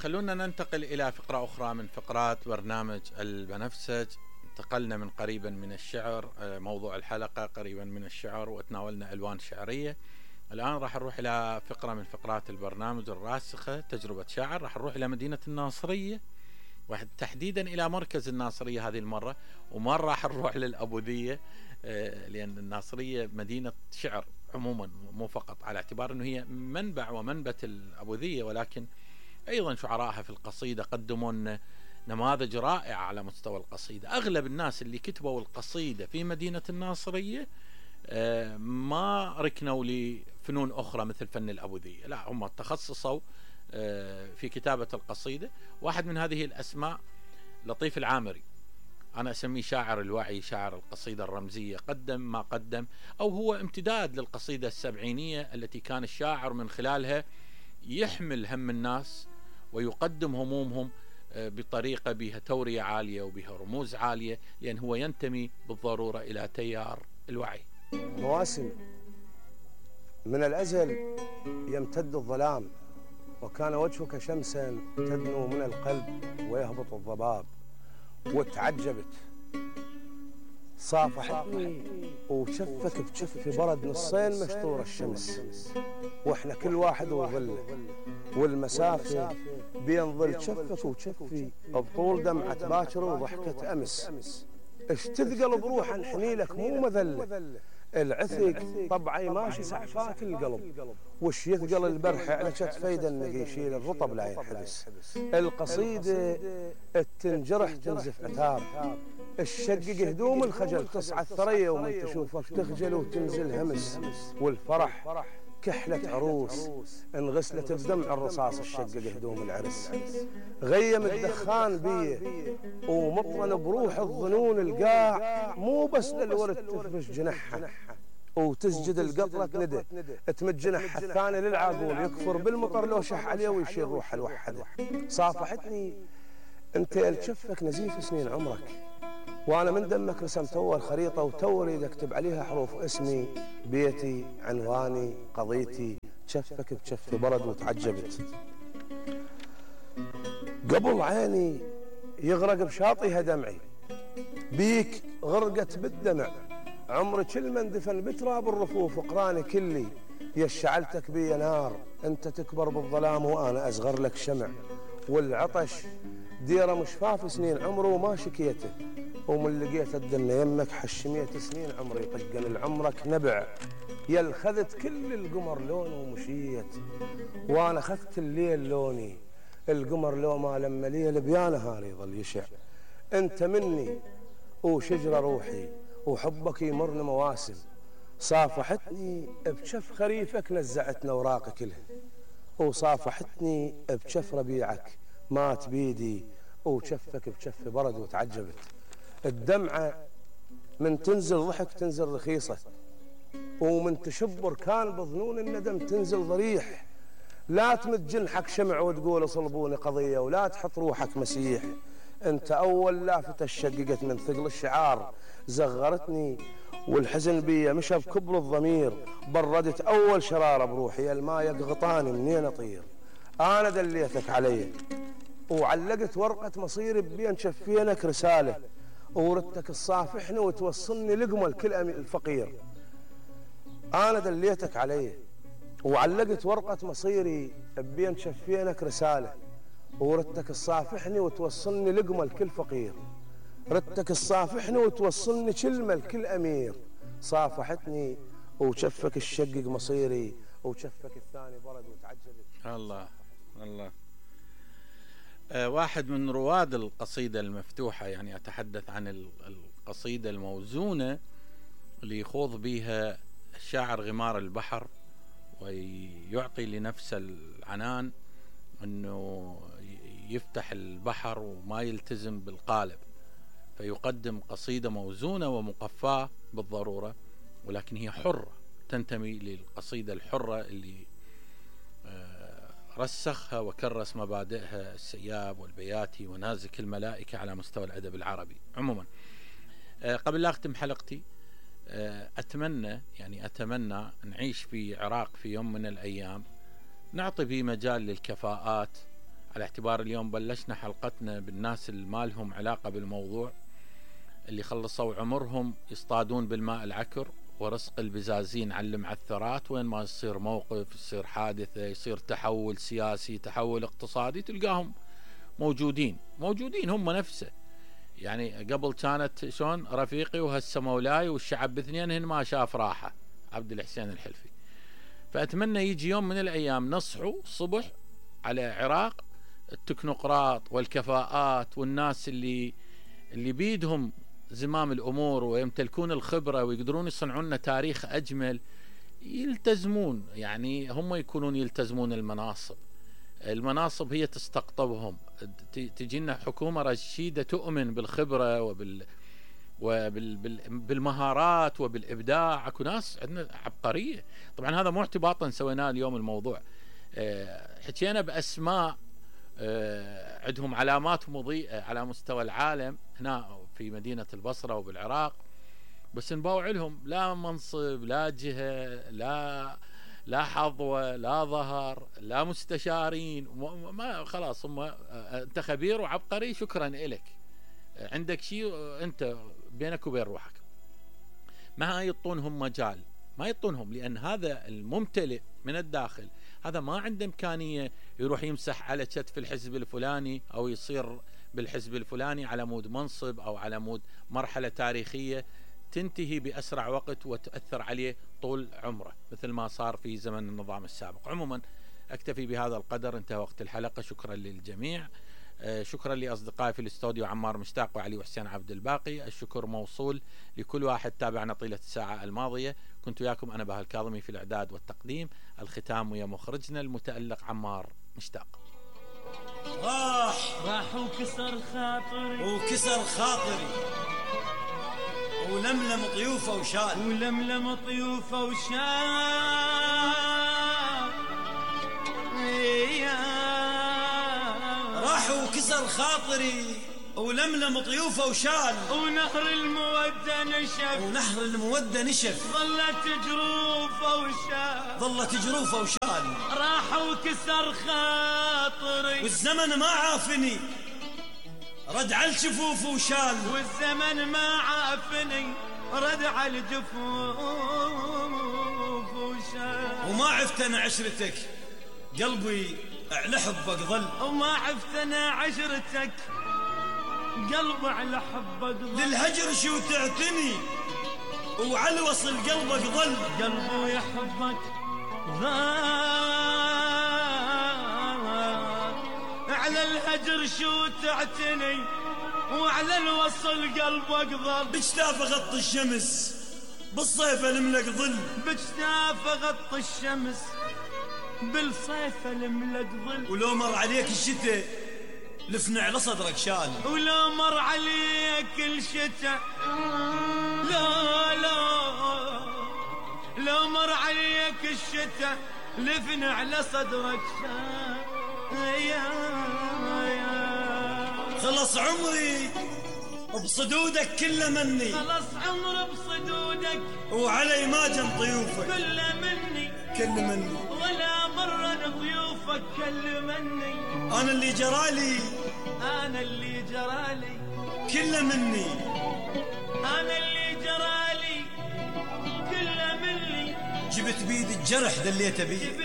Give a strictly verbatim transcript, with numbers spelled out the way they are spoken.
خلونا ننتقل إلى فقرة أخرى من فقرات برنامج البنفسج. انتقلنا من قريبا من الشعر، موضوع الحلقة قريبا من الشعر، وتناولنا ألوان شعرية. الآن راح نروح إلى فقرة من فقرات البرنامج الراسخة، تجربة شاعر. راح نروح إلى مدينة الناصرية، وتحديدا إلى مركز الناصرية هذه المرة، وما راح نروح للأبوذية لأن الناصرية مدينة شعر عموما، مو فقط على اعتبار أنه هي منبع ومنبت الأبوذية، ولكن أيضا شعراءها في القصيدة قدموا لنا نماذج رائعة على مستوى القصيدة. أغلب الناس اللي كتبوا القصيدة في مدينة الناصرية ما ركنوا لفنون أخرى مثل فن الأبوذية، لا، هم تخصصوا في كتابة القصيدة. واحد من هذه الأسماء لطيف العامري، أنا أسميه شاعر الوعي، شاعر القصيدة الرمزية. قدم ما قدم، أو هو امتداد للقصيدة السبعينية التي كان الشاعر من خلالها يحمل هم الناس ويقدم همومهم بطريقة بها تورية عالية وبها رموز عالية، لأن هو ينتمي بالضرورة إلى تيار الوعي. مواسم من الأزل يمتد الظلام، وكان وجهك شمسا تدنو من القلب ويهبط الضباب. وتعجبت صافحتني وشفك بشف برد نصين مشطور الشمس، واحنا كل واحد وظله، والمسافة بين ظل شفك وشفي بطول دمعة باكر وضحكة أمس. اش تثقل بروح انحني لك مو مذلة، العثق طبعي ماشي سعفات القلب، وش يثقل البرح على كتفي دنق يشيل الرطب لا ينحبس. القصيدة التنجرح تنزف عتاب، الشقق هدوم الخجل تصعد ثريا ومن تشوفك تخجل وتنزل همس. والفرح كحلة عروس انغسلت بدمع الرصاص الشقق هدوم العرس. غيم الدخان بيه ومطرن بروح الظنون القاع، مو بس للورد تفرش جنحها وتسجد القطرة ندى تمد جنحها الثاني للعاقول، يكفر بالمطر لو شح عليه ويشيل روحه الوحده. صافحتني انت الشفك نزيف سنين عمرك، وانا من دمك رسمت اول خريطه وتو اريد اكتب عليها حروف اسمي، بيتي، عنواني، قضيتي. شفك بشف برد وتعجبت قبل عيني يغرق بشاطئها دمعي، بيك غرقت بالدمع عمري كل من دفن بتراب الرفوف وقراني كلي. يشعلتك بي نار انت تكبر بالظلام وانا اصغر لك شمع، والعطش ديره مشفاف سنين عمره وما شكيته، ومن لقيت الدنيا يمك حشميت سنين عمري طقن لعمرك نبع. يل خذت كل القمر لونه ومشيت، وانا خذت الليل لوني، القمر لو ما لما ليل بيا نهار يظل يشع. انت مني وشجره روحي وحبك يمرن مواسم، صافحتني بشف خريفك نزعتنا اوراق كلها، وصافحتني بشف ربيعك مات بيدي وشفك بشف برد وتعجبت. الدمعة من تنزل ضحك تنزل رخيصة، ومن تشبر كان بظنون الندم تنزل ضريح. لا تمد جنحك شمع وتقول صلبوني قضية، ولا تحط روحك مسيح. انت اول لافتة شققت من ثقل الشعار، زغرتني والحزن بي مشى بكبر الضمير، بردت اول شرارة بروحي، الماء يقغطاني منين اطير. انا دليتك علي وعلقت ورقة مصيري بين شفينك رسالة، وردتك تصافحني وتوصلني لقمة كل الفقير. انا دليتك علي وعلقت ورقة مصيري بين شفينك رسالة، وردتك تصافحني وتوصلني لقمة لكل فقير. ردتك تصافحني وتوصلني كلمة لكل أمير. صافحتني وشفك الشقق مصيري وشفك الثاني برد وتعجبت. الله الله. أه واحد من رواد القصيدة المفتوحة، يعني أتحدث عن القصيدة الموزونة اللي يخوض بها الشاعر غمار البحر، ويعطي لنفسه العنان أنه يفتح البحر وما يلتزم بالقالب، فيقدم قصيدة موزونة ومقفاة بالضرورة، ولكن هي حرة، تنتمي للقصيدة الحرة اللي رسخها وكرس مبادئها السياب والبياتي ونازك الملائكة على مستوى الأدب العربي عموما. قبل لا أختم حلقتي، أتمنى يعني أتمنى نعيش في عراق في يوم من الأيام نعطي به مجال للكفاءات على اعتبار اليوم بلشنا حلقتنا بالناس اللي ما لهم علاقة بالموضوع، اللي خلصوا عمرهم يصطادون بالماء العكر ورزق البزازين على المعثرات، وين ما يصير موقف، يصير حادثة، يصير تحول سياسي، تحول اقتصادي، تلقاهم موجودين موجودين هم نفسه. يعني قبل كانت شلون رفيقي وهسه مولاي والشعب باثنينهن ما شاف راحة، عبد الحسين الحلفي. فأتمنى يجي يوم من الأيام نصحوا الصبح على عراق التكنوقراط والكفاءات والناس اللي اللي بيدهم زمام الأمور ويمتلكون الخبرة ويقدرون يصنعون لنا تاريخ أجمل، يلتزمون، يعني هم يكونون يلتزمون المناصب. المناصب هي تستقطبهم، تجينا حكومة رشيدة تؤمن بالخبرة وبال وبالمهارات وبالإبداع. اكو ناس عندنا عبقرية. طبعا هذا مو اعتباطا سويناه اليوم الموضوع، حكينا بأسماء عندهم علامات مضيئة على مستوى العالم هنا في مدينة البصرة وبالعراق، بس نباوع لهم لا منصب، لا جهة، لا لا حظوة، لا ظهر، لا مستشارين، ما خلاص هم انت خبير وعبقري، شكرا إلك، عندك شيء انت بينك وبين روحك. ما يعطونهم مجال، ما يعطونهم، لأن هذا الممتلئ من الداخل هذا ما عنده إمكانية يروح يمسح على كتف الحزب الفلاني أو يصير بالحزب الفلاني على مود منصب أو على مود مرحلة تاريخية تنتهي بأسرع وقت وتأثر عليه طول عمره مثل ما صار في زمن النظام السابق. عموما أكتفي بهذا القدر، انتهى وقت الحلقة. شكرا للجميع، شكرا لأصدقائي في الاستوديو عمار مشتاق وعلي وحسين عبد الباقي. الشكر موصول لكل واحد تابعنا طيلة الساعة الماضية. كنت وياكم أنا بهاء الكاظمي في الإعداد والتقديم. الختام ويا مخرجنا المتألق عمار مشتاق. راح راح وكسر خاطري وكسر خاطري ولملم طيوفه وشال ولملم طيوفه وشال راح وكسر خاطري ولملم طيوفه وشال ونهر المودة نشف ونهر المودة نشف ظلت جروفه وشال ظلت جروفه وشال راح وكسر خاطري والزمن ما عافني رد على الجفوف وشال والزمن ما عافني رد على الجفوف وشال وما عفت انا عشرتك قلبي على حبك ظل وما عفت انا عشرتك قلبي على حبك ظل للهجر شو تعتني وعلى وصل قلبك ظل قلبي يحبك ظل على الهجر شو تعتني وعلى الوصل قلبك ظل بجتاف غط الشمس بالصيف الملك ظل بجتاف غط الشمس بالصيف الملك ظل ولو مر عليك الشتاء لفنا على صدرك شال ولو مر عليك الشتاء لا لا لو مر عليك الشتاء لفنا على صدرك شال يا خلص عمري بصدودك كله مني خلص عمري بصدودك وعلي ما جن ضيوفك كله مني كل مني ولا مرة ضيوفك كل مني انا اللي جرالي انا اللي جرالي كله مني انا اللي جرالي كله مني جبت بيد الجرح دليته بيه